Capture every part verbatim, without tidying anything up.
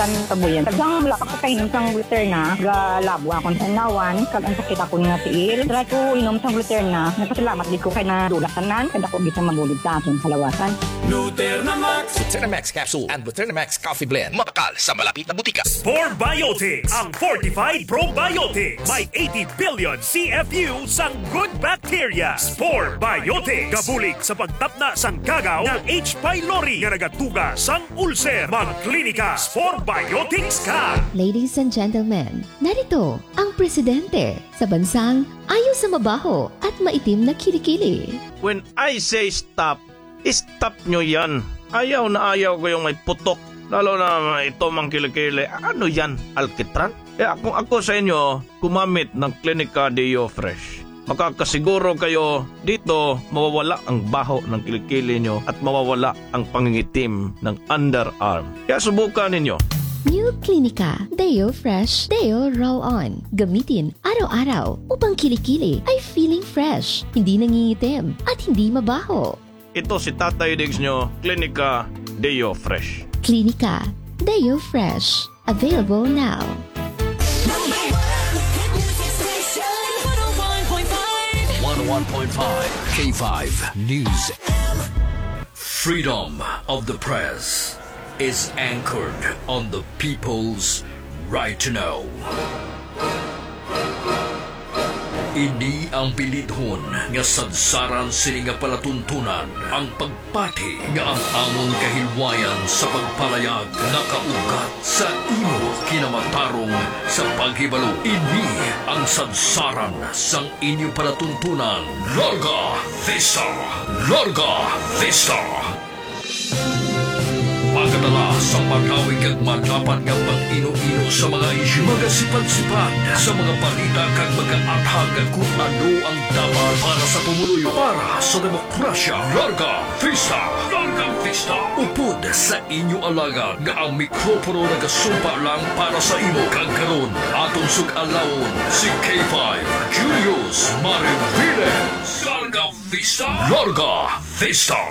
Tan kabuyan. Daghang wala pa ko kainom sang Gluterna, galabo akon sa inlawan, kag ang sakit akon nga tiil. Try ko inom sang Gluterna. Nagpasalamat gid ko kay nadula tanan, kag ako gid sa mabulig sa akon kalawasan. Gluterna Max. Gluterna Max Capsule and Gluterna Max Coffee Blend. Mabakal sa malapit na butika. Spore Biotics, ang fortified probiotics. May eighty billion C F U sang good bacteria. Spore Biotics. Gabulig sa pagtapna sang kagaw nga H. pylori nga nagatuga sang ulcer. Magklinika Spore Biotics ka. Ladies and gentlemen, narito ang presidente sa bansang ayaw sa mabaho at maitim na kilikili. When I say stop, stop nyo yan. Ayaw na ayaw ko yung may putok. Lalo na ito mang kilikili. Ano yan? Alkitran? Eh, kung ako sa inyo, gumamit ng Clinica Deo Fresh. Makakasiguro kayo dito mawawala ang baho ng kilikili nyo at mawawala ang pangingitim ng underarm. Kaya subukan ninyo. New Clinica Deo Fresh Deo Roll On. Gamitin araw-araw upang kilikili ay feeling fresh, hindi nangingitim, at hindi mabaho. Ito si Tatay Diggs nyo, Clinica Deo Fresh. Clinica Deo Fresh. Available now. One oh one point five K five News. Freedom of the press is anchored on the people's right to know. Ini ang bilidhon nga sadsaran sini nga palatuntunan, ang pagpati nga ang amon kahilwayan sa pagpalayag nakaugat sa imo kinamatarong sa paghibalo. Ini ang sadsaran sang inyo palatuntunan. Larga Vista! Larga Vista! Pagkadala sa madawi kag madapat nga pag-ino-ino sa mga isyu, magasipad-sipad sa mga balita kag magaathag kung ano ang dapat para sa pumuluyo, para sa demokrasya. Larga Vista! Larga Vista! Upod sa inyo alagad nga ang mikropono nagasumpa lang para sa imo, kag karon aton sug-alawon si K five Julius Mariviles. Larga Vista! Larga Vista!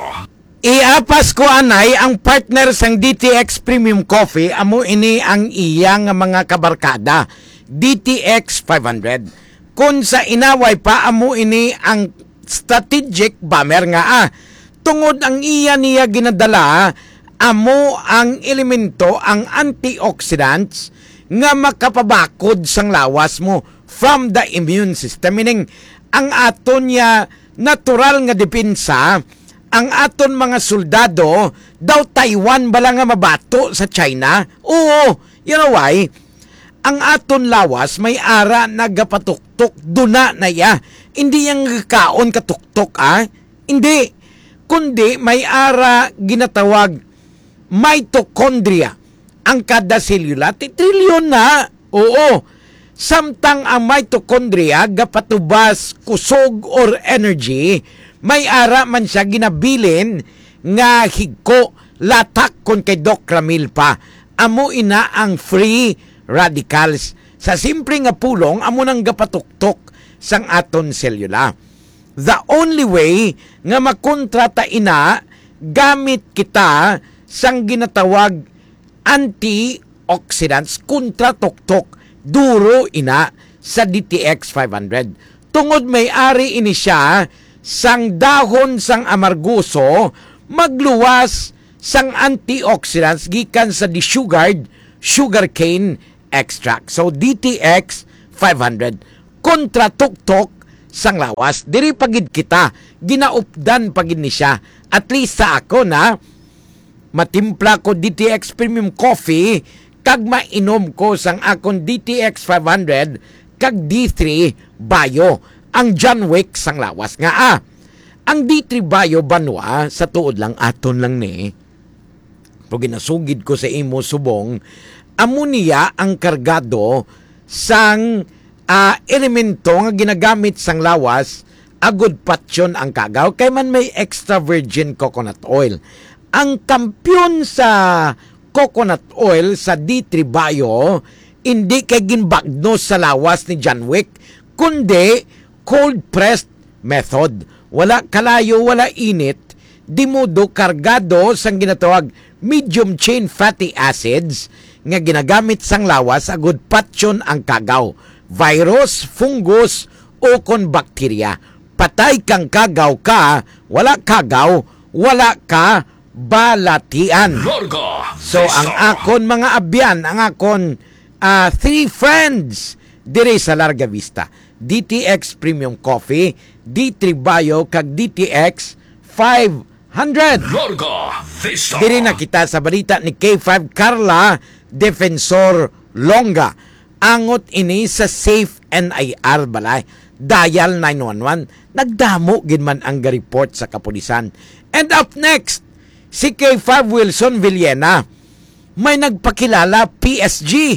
Iapas ko anay ang partner sang D T X Premium Coffee, amo ini ang iya nga mga kabarkada, D T X five hundred. Kon sa inaway pa, amo ini ang strategic bomber nga, ah, tungod ang iya niya ginadala, amo ang elemento, ang antioxidants nga makapabakod sang lawas mo from the immune system. Meaning, ang aton niya natural nga depensa, ang aton mga soldado, daw Taiwan bala nga mabato sa China? Oo, you know why? Ang aton lawas may ara nagapatuktok, duna na iya. Hindi yang kaon katuktok, ah. Hindi. Kundi may ara ginatawag mitochondria. Ang kada selula, ti-, trilyon na. Oo. Samtang ang mitochondria gapatubas kusog or energy, may ara man siya ginabilin nga higko, latak kon kay Doc Ramil pa. Amo ina ang free radicals. Sa simple nga pulong, amo nang gapatuktok sang aton selula. The only way nga makontra ta ina, gamit kita sang ginatawag antioxidants kontra tuktok, duro ina sa D T X five hundred. Tungod may ari ini siya sang dahon sang amargoso, magluwas sang antioxidants gikan sa desugared sugarcane extract. So, D T X five hundred, kontra tuktok sang lawas. Diri pa gid kita, ginaupdan pa gid ni siya. At least sa ako na, matimpla ko D T X Premium Coffee, kag mainom ko sang akon D T X five hundred kag D three Bio, ang John Wick sang lawas nga, ah. Ang D three Bio, banwa, sa tuod lang, aton lang ni. Pero ginasugid ko sa imo subong, amo niya ang kargado sang, ah, elemento nga ginagamit sang lawas agud patyon ang kagaw, kay man may extra virgin coconut oil. Ang kampiyon sa coconut oil sa D three Bio, hindi kay ginbagnos sa lawas ni John Wick, kundi cold pressed method. Wala kalayo, wala init, di modo kargado sang ginatawag medium chain fatty acids, nga ginagamit sang lawas agud patyon ang kagaw, virus, fungus, o kon bakterya. Patay kang kagaw ka, wala kagaw, wala ka balatian. Larga So, ang Vista. Akon mga abyan, ang akon, ah, three friends diri sa Larga Vista, D T X Premium Coffee, D three Bio, kag D T X five hundred. Larga Vista. Diri na kita sa balita ni K five Carla Defensor Longa. Angot ini sa Safe N I R balay. Dial nine one one. Nagdamo gid man ang ga-report sa kapulisan. And up next, si K five Wilson Villena. May nagpakilala, P S G,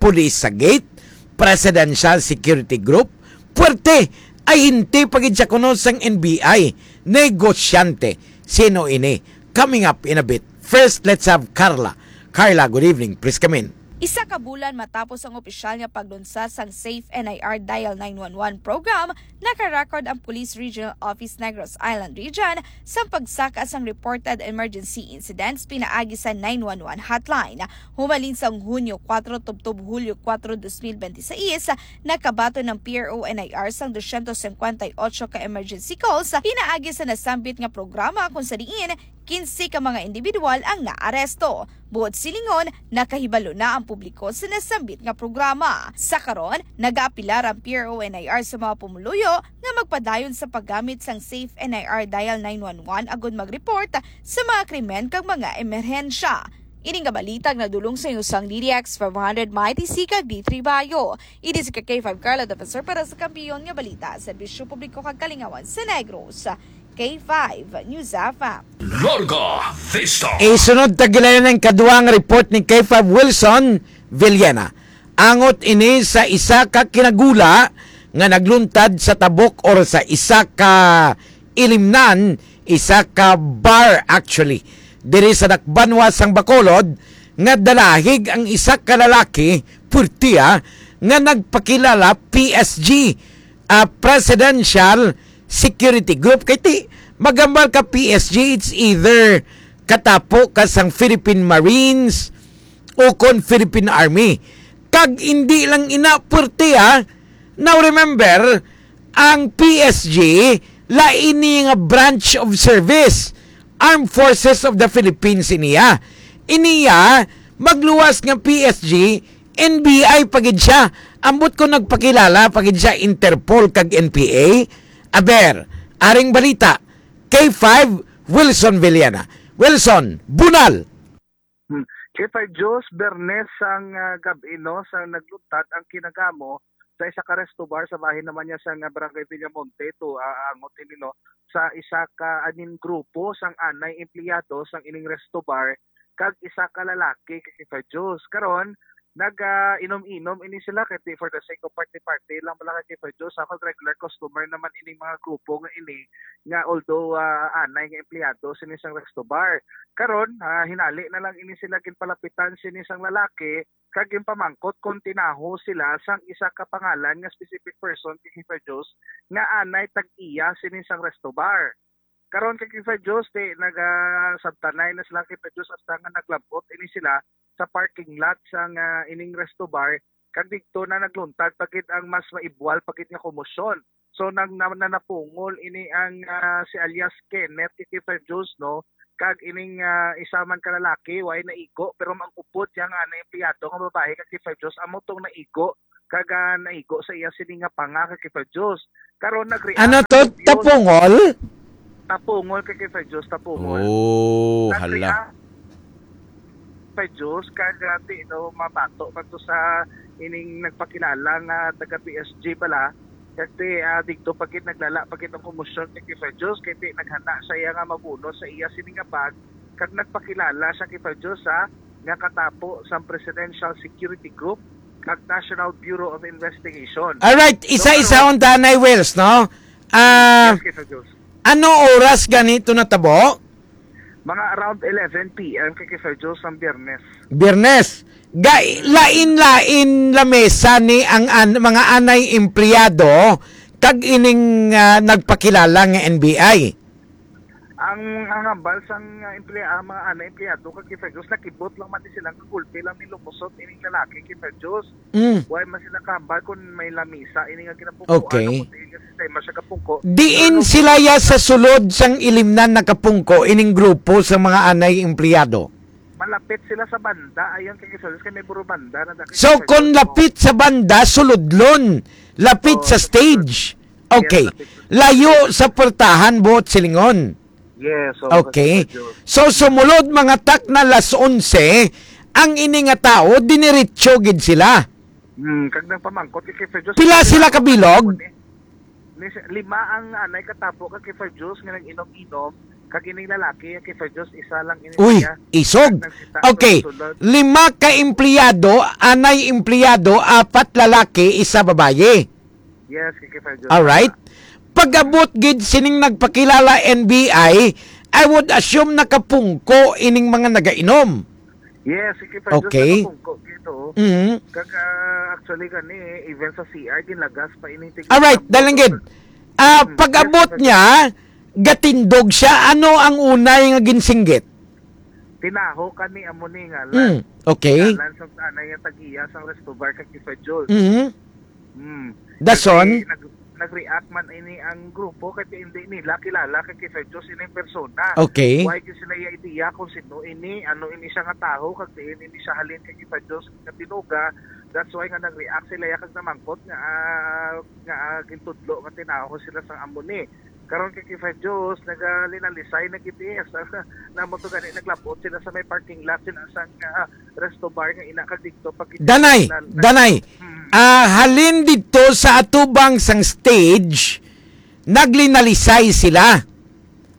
pulis sa gate, Presidential Security Group, puwerte, ay hindi pa gid siya kuno sang N B I, negosyante. Sino ini? Coming up in a bit. First, let's have Carla. Carla, good evening. Please come in. Isa ka bulan matapos ang opisyal nga paglunsad sang Safe N I R Dial nine one one program, naka-record ang Police Regional Office Negros Island Region sa pagsaka sang reported emergency incidents pinaagi sa nine one one hotline. Humalin sang Hunyo kuwatro tubtob Hulyo kuwatro, dos mil benti sais, nakabaton ang P R O N I R sang dosyentos singkwenta y otso ka emergency calls pinaagi sa nasambit nga programa, kung sa diin kinse ka mga individual ang naaresto. Buot silingon, nakahibalo na ang publiko sa nasambit nga programa. Sa karon, nagaapelar ang P R O N I R sa mga pumuluyo nga magpadayon sa paggamit sang Safe N I R Dial nine one one agud mag-report sa mga krimen kag mga emerhensya. Ini nga balita ang nadulong sa inyo sang D D X five hundred Mighty C kag D three Bayo. Ini si K five Carla Defensor para sa Kampiyon nga Balita, Serbisyo Publiko kag Kalingawan sa Negros. K five News F M. Larga Vista. Isunod ta gilayon ang kaduha nga report ni K five Wilson Villena. Angot ini sa isa ka kinagula nga nagluntad sa tabok or sa isa ka ilimnan, isa ka bar actually, diri sa Dakbanwa sang Bacolod, nga dalahig ang isa ka lalaki, purtiya, nga nagpakilala P S G, ah, Presidential Security Group. Kay ti, magambal ka P S G, it's either katapo ka sang Philippine Marines o kon Philippine Army. Kag hindi lang ina, purtiya, Now remember, ang P S G, lain niya nga branch of service, Armed Forces of the Philippines iniya. Iniya, magluwas nga P S G, N B I pa gid siya. Ambot ko nagpakilala pa gid siya Interpol kag N P A. Aber, aring balita, K five, Wilson Villena. Wilson, bunal! Hmm. Kay Fay Jose, Bernes sang, ah, gab-i, no, sang nagluntad ang kinagamo sa isa ka resto bar sa bahin naman niya sa nga Barangay Villamonte, to, ah, angot ini, no, sa isa ka aning grupo sang anay empleyado sang ining resto bar kag isa ka lalaki kay Fay Jose. Karon, nag, ah, inom-inom ini sila kay di for the sake of party-party lang pala kay Fay Jose. Sa regular customer naman ining mga grupo nga ini nga although, ah, anay nga empleyado sini sang resto bar. Karon, ah, hinali na lang ini sila ginpalapitan sini sang lalaki kag ginpamangkot kon tinaho sila sang isa ka pangalan nga specific person kay Kiefer Jones nga anay tag-iya sini sang resto bar. Karon kay Kiefer Jones, ti nagasabtanay na sila kay Kiefer Jones hasta nga naglab-ot ini sila sa parking lot sang, ah, ining resto bar, kag didto na nagluntad pa gid ang mas maibwal pa gid nga komosyon. So, nang, na, na napungol ini ang, ah, si alias Kenneth kay Kiefer Jones, no? Kag ining, ah, isa man ka lalaki, way naigo, pero ang upod niya nga na empleyado nga babae kay Kiefer Jones, amo tong naigo, kag, ah, naigo sa iya sini nga panga kay Kiefer Jones. Karon nag-react Ano to? ang Tapungol? Tapungol kay Kiefer Jones, tapungol. Oh, hala. Nag-react Kiefer Jones, kag, ah, ti, no, mabato pa to sa ining nagpakilala nga taga P S G pala. Kag ti, ah, digto pa gid naglala pa gid ang komosyon kay Kiefer Jones, kay ti naghana siya nga mabunot sa iya sini nga bag, kag nagpakilala siya Kiefer Jones, ha, nga katapo sang Presidential Security Group kag National Bureau of Investigation. Alright, So, isa-isa karon, unta, Nay Wells, no? Ah, Yes, Kiefer Jones. Ano oras ganito natabo? Mga around eleven P M kay Kiefer Jones ang Biyernes. Biyernes. Ga-, lain-lain lamesa ni ang an-, mga anay empleyado kag ining, ah, nagpakilala nga N B I. Ang, ang hambal sang, ah, emplea-, mga anay empleyado kag K five Juice, nakibot lang man ni sila nga gulpi lang ni lumusot ining lalaki, K five Juice. Mm. Wala man sila kahambal kung may lamisa ini nga ginapungko, Okay. ano, kung diin nga sistema siya kapungko. Diin Pero sila ya sa sulod sang ilimnan nakapungko ining grupo sa mga anay empleyado? Malapit sila sa banda, ayon kay K five Juice, kay may buro banda na daki So, kung lapit sa banda, suludlon. Lapit Oo, sa sa stage. Okay. Yes, lapit sa Layo stage. Sa pwertahan, buot silingon. Yes, oo, Okay. K five Juice. So, sumulod mga takna las onse, ang ini nga tawo, diniretso gid sila. Hmm, kag nagpamangkot kay K five Juice. Pila sila kabilog? Ni, lima ang anay katabo kag K five Juice nga nag-inom-inom, kag ining lalaki, K five Juice, isa lang ini Uy, siya. Isog. Kag nagsita Okay. sulod-sulod. Lima ka empleyado, anay empleyado, apat lalaki, isa babayi. Yes, K five Juice. Alright. Pag-abot gid sining nagpakilala N B I, I would assume nakapungko ining mga nagainom. Yes, K five Juice, Okay. nakapungko gid, oo. Mhm. Kag, ah, actually gani, even sa C R, ginlagas pa ining tig- Alright, dalang gid. Ah, Mm, pag-abot yes, niya, gatindog siya, ano ang unay nga ginsinggit? Tinaho kani amo ni nga Mm, last. Okay. Dalan sa anay nga tag-iya sang resto bar kag K five Juice. Mhm. Mm. Dason? Kasi nag-, nag-react man ini ang grupo kay hindi nila kilala kay K five Juice ini ang persona. Okay. Wala gyud sila iya idea kung sino ini, ano ini siya nga tawo, kag diin ini siya halin kay K five Juice nga tinuga. That's why nga nag-react sila ya kag namangkot nga, ah, nga, ah, gintudlo nga tinaho sila sang amo ni. Karon kay K five Juice, nagalinalisay na gid iya. Sa, namo to gani, naglabot sila sa may parking lot sila sang, ah, resto bar nga ina kag didto pag Danay, danay. Hmm. Ah, halin didto sa atubang sang stage, naglinalisay sila.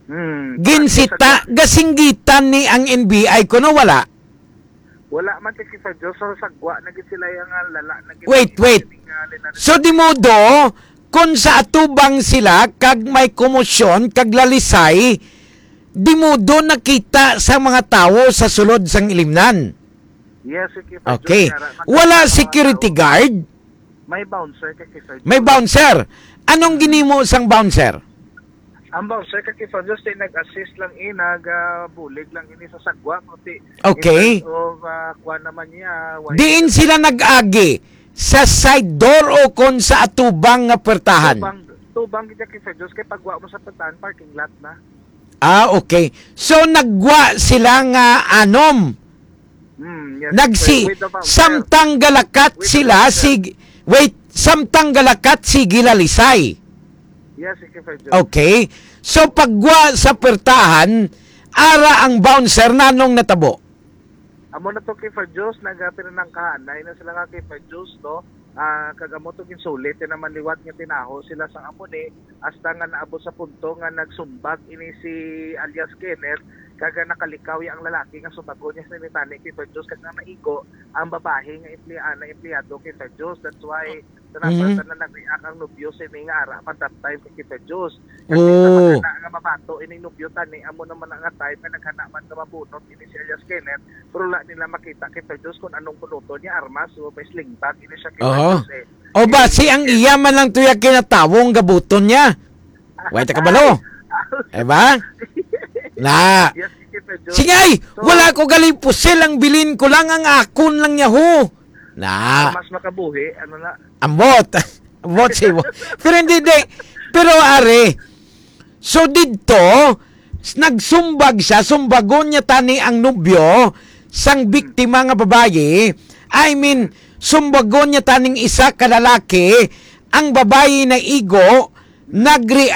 Hmm. Ginsita, gasinggitan ni ang N B I kuno wala? Wala man kay K five Juice, so sagwa na gid sila yang, ah, lala na gid Wait, ang wait. Nga linalisay. So, di modo, kung sa atubang sila, kag may komosyon, kag lalisay, di modo nakita sa mga tawo sa sulod sang ilimnan. Yes, K five Juice, Okay. Wala security guard? May bouncer kay K five Juice. May bouncer. Anong ginimo sang bouncer? Ang bouncer kay K five Juice, nag-assist lang, eh, nag, ah, bulig lang ini sa sagwa, kundi Okay. in terms of, ah, kuwan naman niya, why Diin sila nag-agi? Sa side door o kon sa atubang nga pwertahan? Tubang, tubang gid kay K five Juice, kay pagwa mo sa pwertahan, parking lot na. Ah, okay. So, nagwa sila nga anom. Hmm, yes, Nagsi-, with the bouncer. Samtang galakat With the sila, bouncer. sig-, wait, samtang galakat, sige lalisay. Yes, K five Juice. Okay. So, pagwa sa pwertahan, ara ang bouncer, nanong natabo? Amo na to, K five Juice, nagapinanangkahanay na sila nga K five Juice, no? Ah, kag amo to ginsulit, eh, naman liwat nga tinaho sila sang amo ni, hasta nga naabot sa punto nga nagsumbag ini si alias Kenneth, kag nakalikaw ya ang lalaki nga sumbagon niya sini tani, K five Juice, kag nang naigo ang babayi nga empleyana, empleyado, K five Juice. That's why sa Mhm. number na nag-react ang nobyo sini nga ara pa that time kay K five Juice. Kasi Oh. sa pagkana nga mabato ining nobyo tani, amo naman na nga time nga naghana man nga mabunot ini si alias Kenneth, pero wala nila makita kay K five Juice kung anong bunuton niya, armas o may sling bag ini siya kay Aha. K five Juice, eh. O ba, Eh, si ang eh, iya man lang tuya kinatawong gabuton niya. Way ta kabalo. Eh ba? Na. Yes, K five Juice. Sige, ay, So, wala ko galing pusil ang bilin ko lang ang akon lang niya ho. Na. Mas makabuhi, ano na. Ambot. Ambot si mo. Pero hindi, di. Pero are, so didto, s-, nagsumbag siya, sumbagon niya tani ang nobyo sang biktima nga babayi. I mean, sumbagon niya taning isa ka lalaki, ang babayi naigo, nagreact